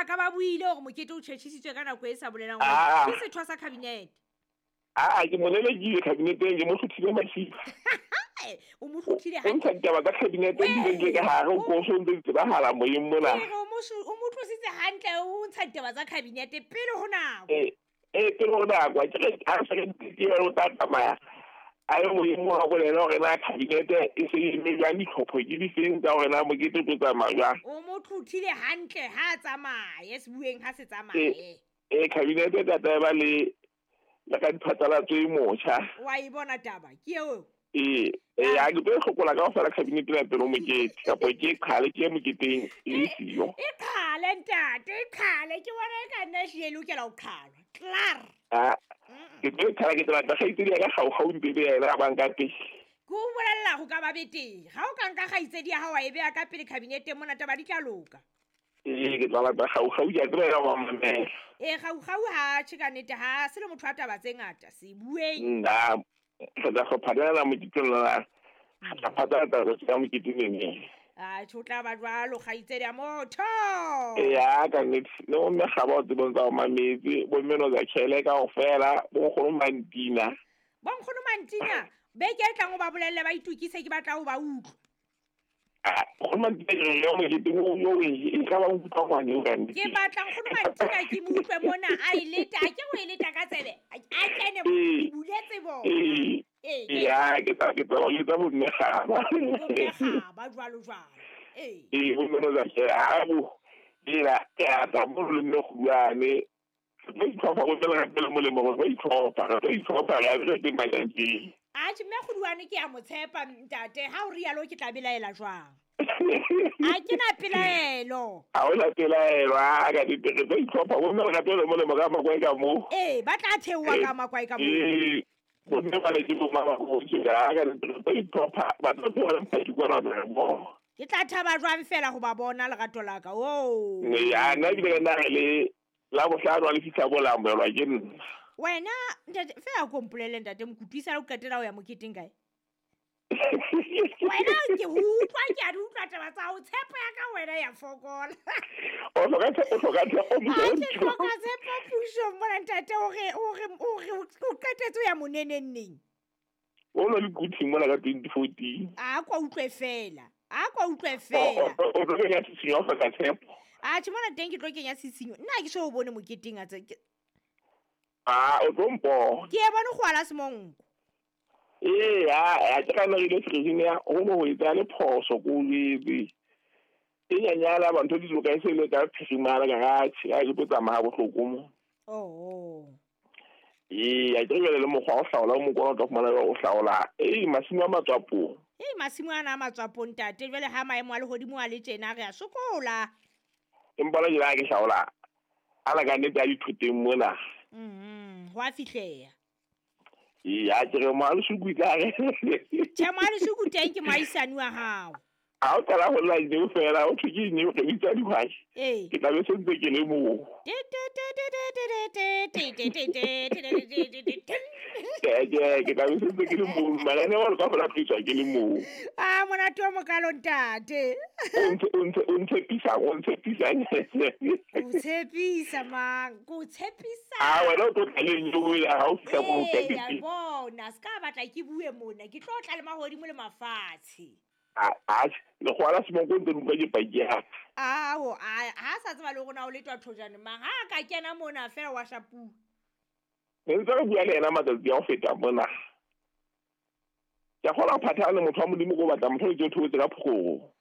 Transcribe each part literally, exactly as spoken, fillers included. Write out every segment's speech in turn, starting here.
ba ka ba buile hore mokete o tjhetjhisitswe ka nako e sa bolelang hore Ah. ke setho sa cabinet. Ah, ke mo lelekile cabineteng, ke mo hlothile masiba. O mo hlothile O ntsha hantle. ditaba tsa cabinet di le ka hare, o koso o ntse di tsebahala moyeng mona. Ke re o mo su- o mo tlositse hantle, o ntsha ditaba tsa cabinet pele ho nako. Eh, eh, pele ho nako, a ke re ha re sa ke ke o tla tsamaya. A ye moyeng wa bolela hore na cabinet e se e eme jwang, ditlhopho ke difeng tsa hore na mokete o tlo tsamaya jwang. O mo tlothile hantle ha a tsamaye, sebueng ha se tsamaye. Eh, cabinet e tla tla ba le le ka diphatlalatso e motjha. Wa e bona taba, ke eo. Eh, eh, ha ke tlo e hlokola kaofela cabinet ena pele ho mokete, kapa ke e qhale ke ye moketeng e le siyo. E qhale ntate, e qhale, ke bona e ka nna ehlile e lokela ho qhalwa. Klaar. Ah, ke tlo e qhala, ke tla batla kgaitsedi ya ka kgaukgau ntse le yena a bang ka pele. Ke o bolella ho ka ba betere. Ha o ka nka kgaitsedi ya hao wa e beha ka pele cabineteng mona, taba di tla loka. Ee, ke tla batla kgaukgau, ke a tseba yena wa mamela. Ee, kgaukgau ha tjhe ka nnete, ha se le motho wa taba tse ngata, se bueng. Nna, re tla hlopha moketeng lona. Re tla phatlalatsa taba tsa mokete neneng. Ah, tjhe, o tla ba jwalo kgaitsedi ya motho. Eya, ka nnete. Le bo mme Kgaba o tsebong tsa ho mametse, bo mme Nozakhele kaofela, bo nkgono Mantina. Bo nkgono Mantina, beke e tlang o ba bolelle ba itokise, ke batla ho ba utlwa. Ah, nkgono Mantina ke re yo moketeng o yo o e ka ba nkutlwa ngwane eo ka nnete. Ke batla nkgono Mantina ke mo utlwe mona a e leta, a ke o e leta ka tsebe. A kene mo, Ee. ke buletse bona. Ee. Ee, ke Eya, ke tla, ke tla ba jwetsa bo mme Kgaba. Bo mme Kgaba jwalo jwalo. Ee. Ee, bo mme Nozakhele, ha bo, ela, ke a tla mo le mme Kgulwane. Re tlo itlhopha, bo mme Lerato le molemo, re tlo itlhopha, re tlo itlhopha, re a re teng matjantjeng. Atjhe, mme Kgulwane ke a mo tshepa ntate, ha o rialo ke tla belaela jwang? Ha ke na pelaelo. Ha hona pelaelo, a ka nnete, re tlo itlhopha, bo mme Lerato le molemo ka makwae ka moo. Ee, ba tla theoha ka makwae ka moo. Ee, bo mme ba le ke bo mama bo tje, a ka nnete, re tlo itlhopha, ba tlo tloha le mphaki kwana re mo. Ke tla thaba jwang fela ho ba bona lerato la ka. Oh. Ya, nna ebile ka nna re le la bohlano ha le fihla bo la amohelwa ke nna. Wena ntate, fela ko mpolelle ntate Mokutu, esale o qetela ho ya moketeng kae? Wena ke ho utlwa, ke a di utlwa taba tsa hao, tshepo ya ka wena ya fokola. O hloka tshepo, o hloka tshepo, Ha ke motho. hloka tshepo pusong mona ntate, hore, hore, hore o qetetse ho ya moneneng neng? O no le Quthing mona ka twenty fourteen. A kwa utlwe fela. A kwa utlwe O, fela. o, o tlo kenya tshisinyo, o hloka tshepo. Atjhe, mona teng ke tlo kenya tshisinyo. Nna ha ke so o bone moketeng a tse, ke Ah, o tlo mpona. Ke e bone go ala semonko. Ee, a, a ke ka nna re ile serijing ya, ho no ho etsa le phoso ko o jwetse. E nyanyala ba ntho di loka e se le ka phirimana ka ra tjhe, ha ke tlo tsamaya ha bohloko mo. Oh. Ee, a ke re jwale le mokgwa wa ho hlaola, o mokgwa o tla fumana jwale o hlaola. Ee, masimo a matswapong. Ee, masimo ana a matswapong ntate, jwale ha maemo a lehodimo a le tjena re a sokola. Empa la jwale ha ke hlaola, ana ka nnete a dithoteng mona. Mhm, ho a fihleha. Ee, a ke re moalesuku e tla re. Tjhe, moalesuku teng ke moahisani wa hao. Ha o qala ho lla neo fela, o thwe ke neo, re bitsa dihwai. Ee. Ke tla be se ntse ke le moo. Te, te, te, te, te, te, te, te, te, te, te, te, te, te, te, te. Ke, ke, ke tla be se ntse ke le moo. Mananeo a ka fela tliswa ke le moo. Ah, monate o mokalo ntate. O ntse, o ntse, o ntshepisa, o ntshepisa. O tshepisa mang? Ko tshepisa. Ah, wena o tlo tla le neo ya ha o fihla moo ka Ee, pele. bona, se ka batla ke bue mona, ke tlo tla le mahodimo le mafatshe. Ah, ah, lekgowa la semonko ntse le utlwa ke paki ya ka. Ao, a, ha sa tseba le hore na o letwa thojane mang, ha a ka kena mona fela wa shapuwa. Ne ntse re bua le yena matsatsi a ho feta mona. Ke a kgolwa ho phathahane motho wa Modimo ko batla motho o ke o theohetse ka phokgo.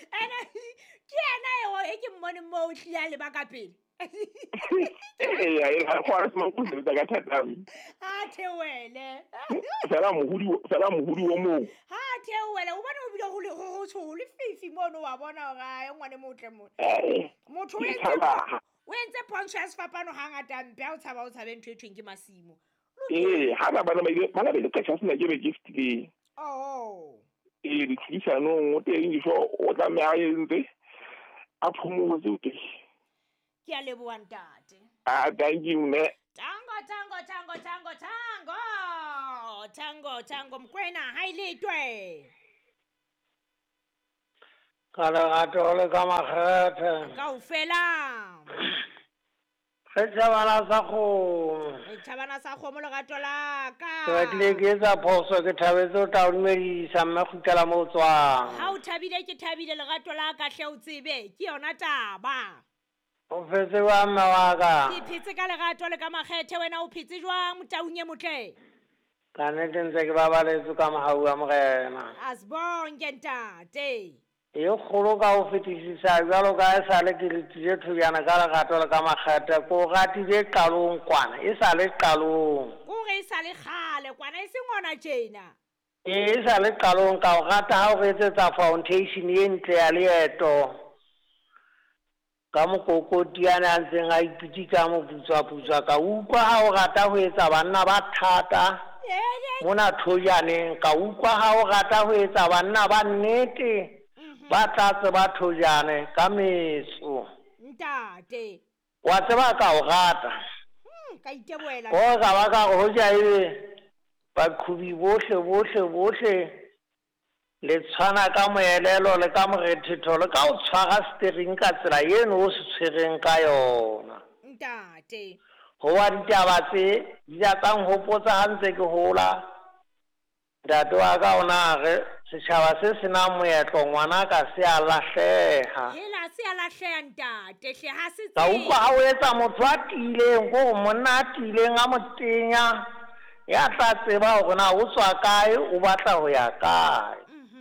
Ene, ke yena eo e ke mmoneng moo o hlile a leba ka pele. Eya, e la kgwara semonko o sebetsa ka thata. Ha theohele. Fela mohudi, fela mohudi o mong. Ha theohele, o bone o bile ho le ho ho tsho le fifi mono wa bona hore a ngwane motle mona. Eh, Motho o ke entse tshaba. o entse pontsho ya sefapano hangata mpe ha o tshaba o tshabe ntho e thweng ke masimo. Ee, ha ba bana ba ile, bana ba ile ka sena ke be ke fetileng. Oh. Ee, ditlhodisanong o teng difo o tlameha a entse a phomotse o teng. Ke a leboha ntate. Ah, thank you mme. Tango, tango, tango, tango, tango. Tango, tango, Mokoena, ha e letwe. Ka lerato le ka makgethe. Kaofela. Re tjhabana sa kgomo. Re tjhabana sa kgomo lerato la ka. Ke batlile ke etsa phoso, ke thabetse ho tla o dumedisa mme kgutlela moo o tswang. Ha o thabile ke thabile lerato la ka hle o tsebe, ke yona taba. O phetse jwang mme wa ka? Ke phetse ka lerato le ka makgethe, wena o phetse jwang motaung e motle? Ka nnete ntse ke babaletswe ka mohau wa Morena. Asibonke ntate. E kgolo ka ho fetisisa jwalo ka e sale ke letile thojana ka lerato le ka makgethe, ko ratile qalong kwana, e sale qalong. Kore e sale kgale kwana e seng hona tjena. E sale qalong ka o rata ha o re etsetsa foundation e ntle ya leeto. Ka mokokoti ane a ntseng a ipitika moputswa-putswa, ka utlwa ha o rata ho etsa banna ba thata mona thojaneng, ka utlwa ha o rata ho etsa banna ba nnete ba tlatse ba thojane ka metso. Ntate. Wa tseba ka o rata. Ka iteboela. O ka ba ka ho ja ebe baqhubi bohle bohle bohle le tshwana ka moelelo le ka morethetho le ka o tshwara steering ka tsela eno o se tshwereng ka yona. Ntate. Ho wa ditaba tse di a tsa nhopotsa ha ntse ke hola. Ntate wa ka o na re setjhaba se senang moetlo ngwana ka se a lahleha. Hela se a lahleha ntate hle ha se Ka utlwa ha o etsa motho a tiileng, ko monna a tiileng a motenya ya tla tseba hore na o tswa kae, o batla ho ya kae.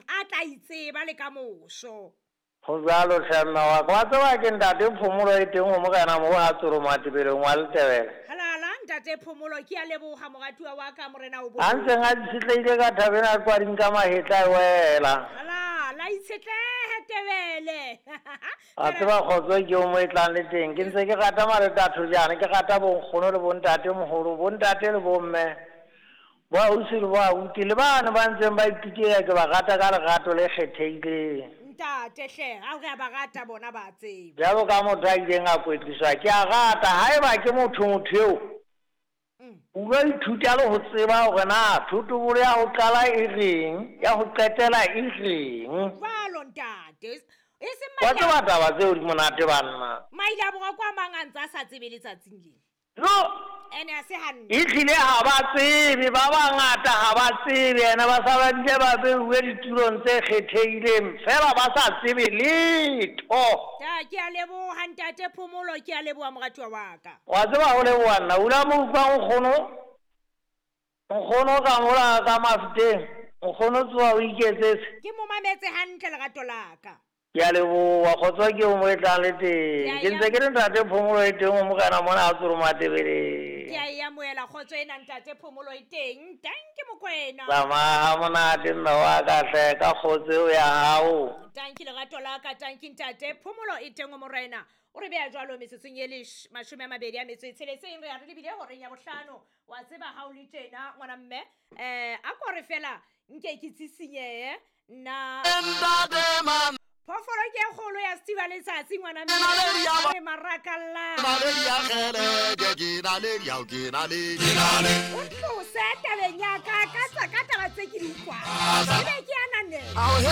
A tla itseba le ka moso. Ho jwalo hle mme wa ka. Wa tseba ke ntate Phomolo e teng ho Morena moo ha Tsoro Matebeleng wa Letebele. Halala ntate Phomolo, ke a leboha moratuwa wa ka Morena o bo. A ntseng a itshetlehile ka thabeng a kwading ka mahetla e wela. Halala itshetlehe Tebele. A tseba kgotso ke o mo e tlang le teng. Ke ntse ke rata mareta thojana, ke rata bonkgono le bontate moholo, bontate le bomme. Bo ausi le bo abuti le bana ba ntseng ba ipitela ke ba rata ka lerato le kgethehileng. Ntate hle, ha o re a ba rata bona ba tseba. Jwalo ka motho a ileng a kwetliswa, ke a rata haeba ke motho motho eo. O lo ithuta le ho tseba hore na thotobolo ya ho qala e reng, ya ho qetela e reng. Jwalo ntate. E seng Wa tseba taba tseo di monate banna. Maile a borwa kwa mang a ntse a sa tsebe letsatsing lena. No. Ene a se hantle. Ehlile ha ba tsebe, ba bangata ha ba tsebe, ene ba sa ba bile ba beuwe ditulong tse kgethehileng, fela ba sa tsebe letho. Ta ke a leboha ntate Phomolo, ke a leboha moratuwa wa ka. Wa tseba ho leboha nna, o la mo utlwa nkgono. Nkgono ka mola ka mafuteng, nkgono tsoha o iketsetse. Ke mo mametse hantle lerato la ka. Ke a leboha, kgotso ke o mo e tlang le teng. Ke ntse ke le ntate Phomolo e teng ho Morena mona a Tsoro Matebeleng. Ke a e amohela kgotso ena ntate Phomolo e teng. Tanki Mokoena. Tsamaya ha monate mme wa ka hle ka kgotso eo ya hao. Tanki lerato la ka, tanki ntate Phomolo e teng ho Morena. O re beha jwalo metsotsong e lesh mashome a mabedi a metso e tsheletseng, re a re lebile horeng ya bohlano. Wa tseba ha o le tjena ngwana mme, eh a ko re fela nke ke tsisinyehe nna. Phoofolo ke e kgolo ya Steve Letsatsi ngwana mme. Re marakalla. O tlose tabeng ya ka ka tsa ka taba tse ke di utlwang. Ebe ke ananela.